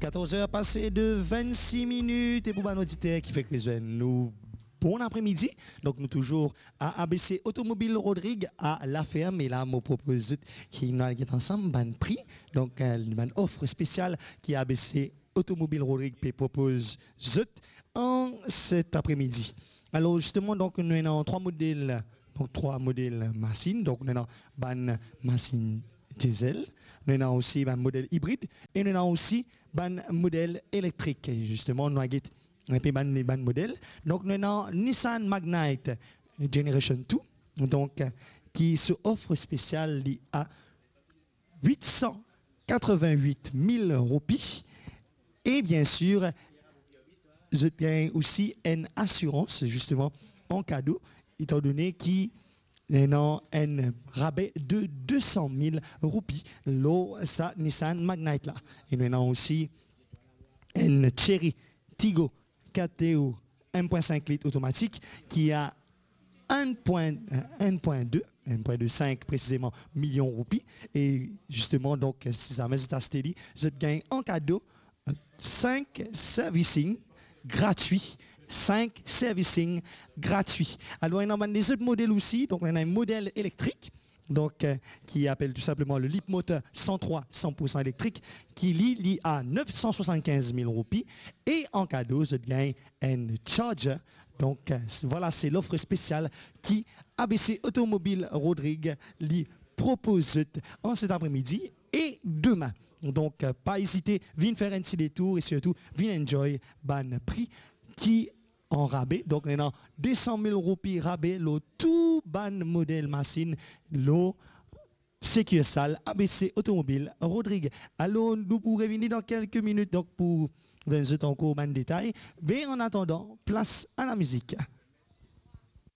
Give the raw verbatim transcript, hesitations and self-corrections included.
Katorz er pase de vennsis minit, e pou bann oditer ki fek rezwenn nou, bon apremidi. Donk nou touzour a A B C Automobile Rodrig a Laferm, e la mo propoz zot ki nou al get ansam bann pri, donk, eh, bann of spesial ki A B C Automobile Rodrig pe propoz zot an set apremidi. Alor zisteman, donk nou ena trwa model, donk trwa model masinn, donk nou ena bann masinn diesel, nou ena osi bann model ibrid, e nou ena osi bann model elektrik. E zisteman, nou al get inpe bann, bann model. Donk nou ena Nissan Magnite Generation two, donk, ki so of spesial li a wit san katreven-wit mil roupi. E bien sir, zot gagn osi enn asirans, zisteman, an kado, etandone ki ena enn rabe de de san mil roupi lor sa Nissan Magnite la. E nou ena osi enn Chery Tiggo Katew enn pwin sink lit otomatik ki a enn pwin, enn pwin de, enn pwin de sink presizeman milion roupi. E zisteman, donk, si zame zot aste li, zot gagn an kado sink servicing gratwi. Sink servicing gratwi. Alor, ena bann lezot model osi, donk, ena enn model elektrik, donk, eh, ki apel tou sinpleman le Leapmotor san trwa san pour san elektrik, ki li, li a nef san swasannkinz mil roupi, e an kado, zot gagn enn charger. Donk, eh, s-, vwala, se lof spesial ki A B C Automobile Rodrig li propoz zot an set apremidi e demin. Donk, eh, pa ezite, vinn fer enn ti detour e sirtou vinn enjoy bann pri ki an rabe. Donk, nou ena de san mil roupi rabe lor tou bann model masinn lor sikirsal A B C Automobile Rodrig. Alor, nou pou revini dan kelke minit, donk, pou donn zot ankor bann detay. Me an atandan, plas a lamizik.